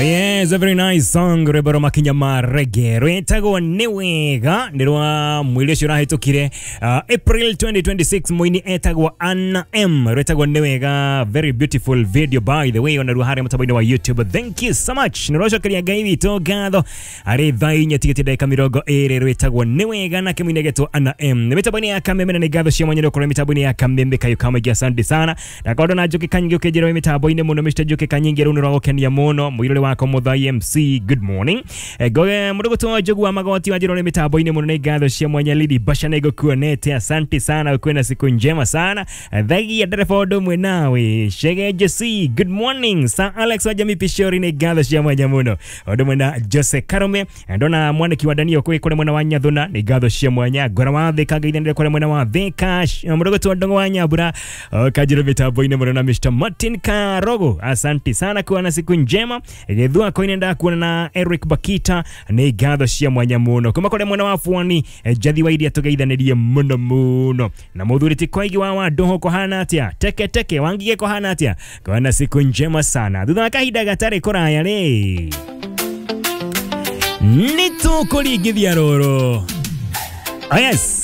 Yes, a very nice song, rwĩmbo rwa makinya ma reggae rwĩtagwo nĩ wega, nĩ rwa mweri ũcio ũrahĩtũkire, April 2026. Mũini etagwo Anna M, rwĩtagwo nĩ wega. Very beautiful video, by the way, ona ruo harĩa mũtambo-inĩ wa YouTube. Thank you so much. Nĩ rwacokeria Ngai witũ ngatho arĩ 4:09 rwĩtagwo nĩ wega na kĩmũini getwo Anna M nĩ mĩtambo-inĩ ya Kameme, na nĩ ngatho cia mwanya gũkorwo mĩtambo-inĩ ya Kameme kayo kamaingĩ. Asante sana. Ndakorwo na Njoki Kanyingi ũkĩnjĩra wĩ mĩtambo-inĩ mũno. Mr Njoki Kanyingi, rĩu nĩ rwagũkenia mũno mũirũrĩ wakwa Muthai MC, good morning. Ngoge mũndũ gũtwo Njogu wa Magoti wanjĩra ũrĩ mĩtambo-inĩ mũno, nĩ ngatho cia mwanya. Lidi Basha, nĩ ngũkuonete, asante sana, ukuwe na siku njema sana. Thagia ndereba ũndũ ũmwe nawe Shege Jesse, good morning. Sir Alex wa Jamii Pishori, nĩ ngatho cia mwanya mũno, ũndũ ũmwe na Jose Karome. Ndona mwaniki wa Daniel kwĩ kũrĩ mwena wa Nyathuna, nĩ ngatho cia mwanya. Ngora wa Thika ngaithanĩre kũrĩ mwena wa Thika, mũndũ gũtwo Ndong'o wa Nyambura kanjĩra mĩtambo-inĩ mũno na Mr Martin Karogo, asante sana, kuwa na siku njema. Gĩthua koine ndakuona na Eric Bakita, nĩ ngatho cia mwanya mũno. Kuma kũrĩ mwena wa Bwani, Njathi wa iria tũgeithanĩrie mũno mũno na mũthuri ti Koigi wa Wandoho, kũhana atĩa? Teke teke wangige, kũhana atĩa? Kuwa na siku njema sana. Thutha wa kahinda gatarĩ kũraya rĩ, nĩ tũkũringithia rũrũ. Oh yes.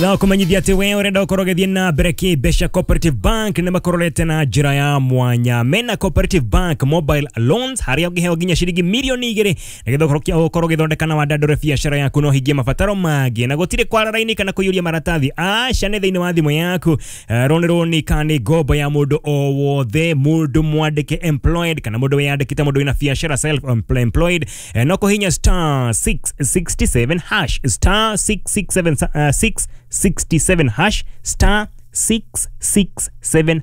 No kũmenyithia atĩ we ũrenda ũkorwo ũgĩthiĩ na mbere kĩmbeca, Cooperative Bank nĩ makororete na njĩra ya mwanya mena Cooperative Bank mobile loans, harĩa ũngĩheo nginya ciringi 2 mirioni nĩgetha ũkorwo ũgĩthondeka na wandandũre biacara yaku na ũhingie mabataro mangĩ, na gũtirĩ kwara raini kana kũiyũria maratathi, aca, nĩ thĩinĩ wa thimũ yaku. Roni roni kana nĩ ngombo ya mũndũ o wothe, mũndũ mwandĩke employed kana mũndũ wĩyandĩkĩte, mũndũ wĩna biacara self employed, no kũhinya *667#, *667, 667 hash, *667#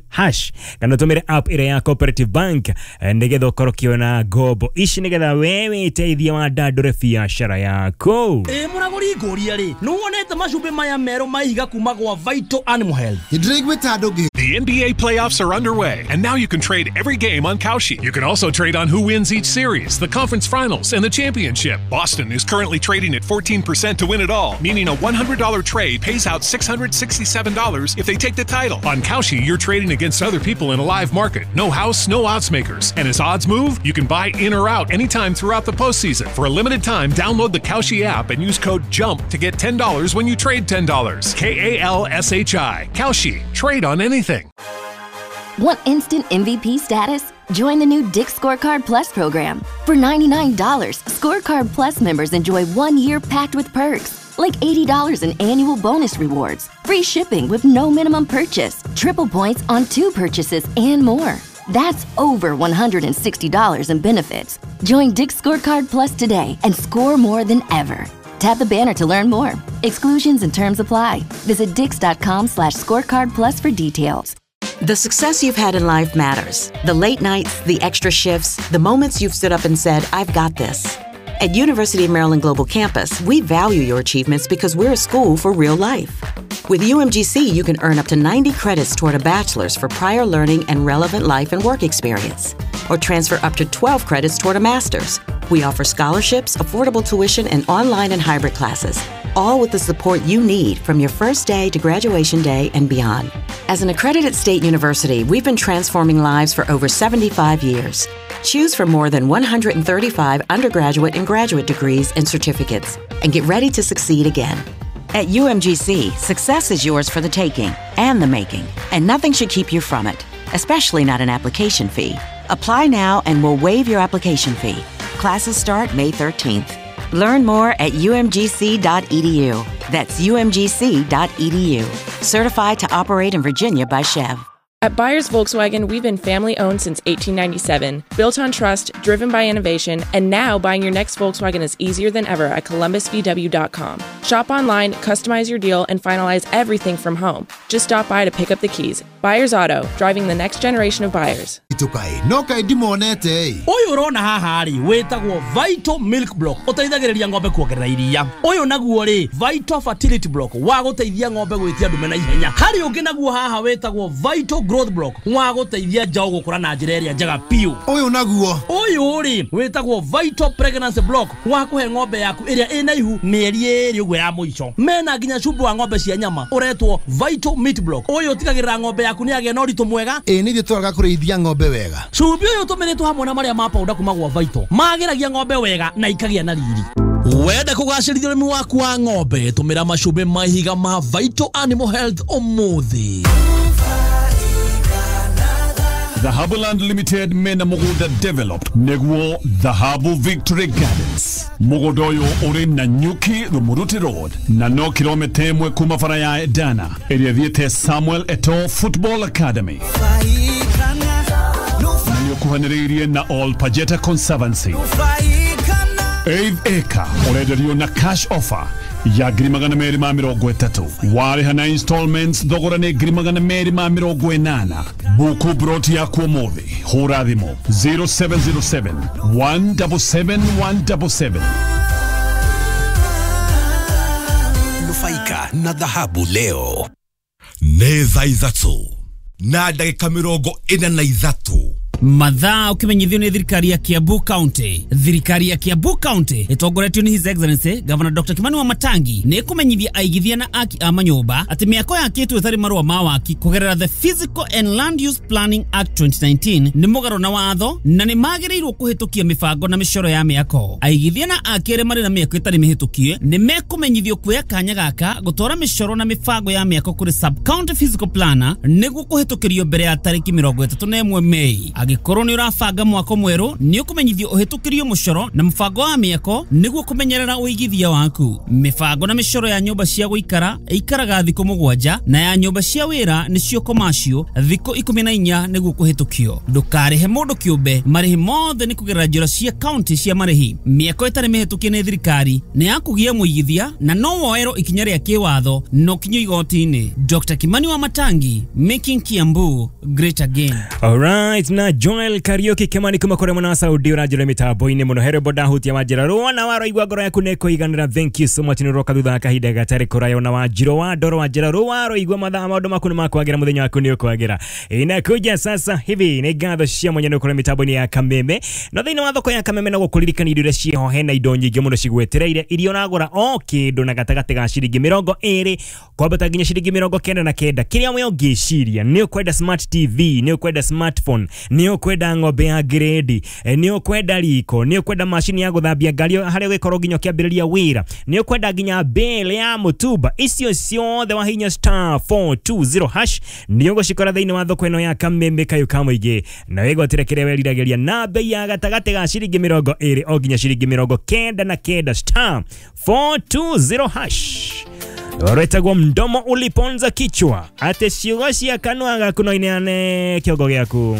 kana ũtũmĩre app ĩrĩa ya Cooperative Bank, nĩgetha ũkorwo ũkĩona ngombo ici nĩgetha we wĩteithie wandandũre biacara yaku. Ĩ mũragũri, ngũria rĩ, nĩ wonete macumbĩ maya merũ ma ihiga kuma gwa Vital Animal Health? Ndĩraiguĩte andũ ngĩ The NBA playoffs are underway, and now you can trade every game on Kalshi. You can also trade on who wins each series, the conference finals, and the championship. Boston is currently trading at 14% to win it all, meaning a $100 trade pays out $667 if they take the title. On Kalshi, you're trading against other people in a live market. No house, no odds makers. And as odds move, you can buy in or out anytime throughout the postseason. For a limited time, download the Kalshi app and use code JUMP to get $10 when you trade $10. Kalshi. Kalshi. Trade on anything. Want instant MVP status? Join the new Dick's Scorecard Plus program. For $99, Scorecard Plus members enjoy 1 year packed with perks, like $80 in annual bonus rewards, free shipping with no minimum purchase, triple points on two purchases, and more. That's over $160 in benefits. Join Dick's Scorecard Plus today and score more than ever. Tap the banner to learn more. Exclusions and terms apply. Visit dicks.com/scorecard plus for details. The success you've had in life matters. The late nights, the extra shifts, the moments you've stood up and said, "I've got this." At University of Maryland Global Campus, we value your achievements because we're a school for real life. With UMGC, you can earn up to 90 credits toward a bachelor's for prior learning and relevant life and work experience, or transfer up to 12 credits toward a master's. We offer scholarships, affordable tuition, and online and hybrid classes, all with the support you need from your first day to graduation day and beyond. As an accredited state university, we've been transforming lives for over 75 years. Choose from more than 135 undergraduate and graduate degrees and certificates and get ready to succeed again. At UMGC, success is yours for the taking and the making, and nothing should keep you from it, especially not an application fee. Apply now and we'll waive your application fee. Classes start May 13th. Learn more at umgc.edu. That's umgc.edu. Certified to operate in Virginia by SCHEV. At Byers Volkswagen, we've been family owned since 1897, built on trust, driven by innovation, and now buying your next Volkswagen is easier than ever at columbusvw.com. Shop online, customize your deal, and finalize everything from home. Just stop by to pick up the keys. Byers Auto, driving the next generation of buyers. Kaĩ no kaĩ ndimonete ĩ. Ũyũ ũrona haha rĩ, wĩtagwo Vital Milk Block, ũteithagĩrĩria ng'ombe kuongerera iria. Ũyũ naguo rĩ, Vital Fertility Block, wa gũteithia ng'ombe gwĩtia ndume na ihenya. Harĩ ũngĩ naguo haha wĩtagwo Vital Growth Block, wa gũteithia njaũ gũkũra na njĩra ĩrĩa njega biũ. Ũyũ naguo? Ũyũ rĩ, wĩtagwo Vital Pregnancy Block, wa kũhe ng'ombe yaku ĩrĩa ĩna ihu mĩeri 2 ũguo ya mũico. Mena nginya cumbĩ wa ng'ombe cia nyama ũretwo Vital Meat Block. Ũyũ ũtigagĩrĩra ng'ombe yaku yaku nĩ yagĩa na ũritũ mwega. Ĩ nĩ ithuĩ tũraga kũrĩithia ng'ombe wega. Cumbĩ ũyũ ũtũmĩrĩtwo hamwe na marĩa ma powder kuma gwa Vital magĩragia ng'ombe wega na ikagĩa na riri. Wenda kũgacĩrithia ũrĩmi waku wa ng'ombe, tũmĩra macumbĩ ma ihiga ma Vital Animal Health ũmũthĩ. Dhahabu Land Limited mena mugunda developed niguo Dhahabu Victory Gardens. Mugunda uyu uri na Nyuki Rumuruti Road na no kilomita 1 kuma bara ya Edana ĩrĩa ĩthiĩte Samuel Eto'o Football Academy. Na nĩũkuhanĩrĩirie na All Pajeta Conservancy. 8 acre ũrenderio na cash offer ya 230,000. Warĩha na installments thogora nĩ 280,000. Buku broti yaku ũmũthĩ, hũra thimũ 0707 177 177. Nufaika na dhahabu leo. Nĩ thaa 3 na ndagĩka 43. Mathaa ukimenyithio nĩ thirikari ya Kiambu County. Thirikari ya Kiambu County ĩtongoretio nĩ His Excellency Governor Dr. Kimani Wamatangi nĩ ĩkũmenyithia aigithia na aki a manyũmba atĩ mĩako yakĩtwo ĩtarĩ marũa ma waki kũgerera the Physical and Land Use Planning Act 2019 nĩ mũgarũ na watho na nĩ magĩrĩirwo kũhĩtũkia mĩbango na mĩcoro ya mĩako. Aigithia na aki arĩa marĩ na mĩako ĩtarĩ mĩhĩtũkie nĩ mekũmenyithio kuoya kanya gaka gũtwara mĩcoro na mĩbango ya mĩako kũrĩ sub-county physical planner nĩguo kũhĩtũkĩrio mbere ya tarĩki 31 Mei. Angĩkorwo nĩ ũrabanga mwako mwerũ nĩ ũkũmenyithio ũhĩtũkĩrio mũcoro na mũbango wa mĩako nĩguo kũmenyerera ũigithia waku. Mĩbango na mĩcoro ya nyũmba cia gũikara ĩikaraga thikũ 7 na ya nyũmba cia wĩra nĩcio commercial thikũ 14 nĩguo kũhĩtũkio. Ndũkarĩhe mũndũ kĩũmbe, marĩhi mothe nĩ kũgerera njĩra cia county cia marĩhi. Mĩako ĩtarĩ mĩhĩtũkie nĩ thirikari nĩ ya kũgia mũigithia na no woerwo ikinya rĩa kĩwatho na ũkinyio igoti-inĩ. Dr. Kimani Wamatangi, making Kiambu great again. Alright, na Joel Kariuki Kimani kuma kũrĩ mwena wa Saudi ũranjĩra mĩtambo-inĩ mũno here boda hutia wanjĩra rũa na waroigua ngoro yaku nĩ kũiganĩra. Thank you so much nĩ ũroka thutha wa kahinda gatarĩ kũraya na wanjirũ wa ndoro wanjĩra rũa waroigua mathaa maũndũ maku nĩ makwagĩra mũthenya waku nĩ ũkwagĩra. Inakuja sasa hivi nĩ ngatho cia mwanya nĩ ũkũrĩ mĩtambo-inĩ ya Kameme na thĩinĩ wa thoko ya Kameme no gũkũririkania indo iria ciĩho hena indo nyingĩ mũno cigwetereire iria ũragũra o kĩndũ na gatagatĩ ga ciringi 20 kwambata nginya ciringi 99. Kĩrĩa we ũngĩciria nĩ ũkwenda smart TV, nĩ ũkwenda smartphone, nĩ ũkwenda ng'ombe ya grade, nĩ ũkwenda riko, nĩ ũkwenda macini ya gũthambia ngari harĩa ũgĩkorwo nginya ũkĩambĩrĩria wĩra, nĩ ũkwenda nginya bale ya mũtumba, icio ciothe wahinya star 420 hash nĩ ũgũcikora thĩinĩ wa thoko ĩno ya Kameme kayũ ka mũingĩ na wĩgwatĩre kĩrĩa weriragĩria na bei ya gatagatĩ ga ciringi 20 o nginya ciringi 99 star 420 hash. Rwetagwo mdomo uliponza kichwa ate ciugo cia kanua gaku no ineane kĩongo gĩaku.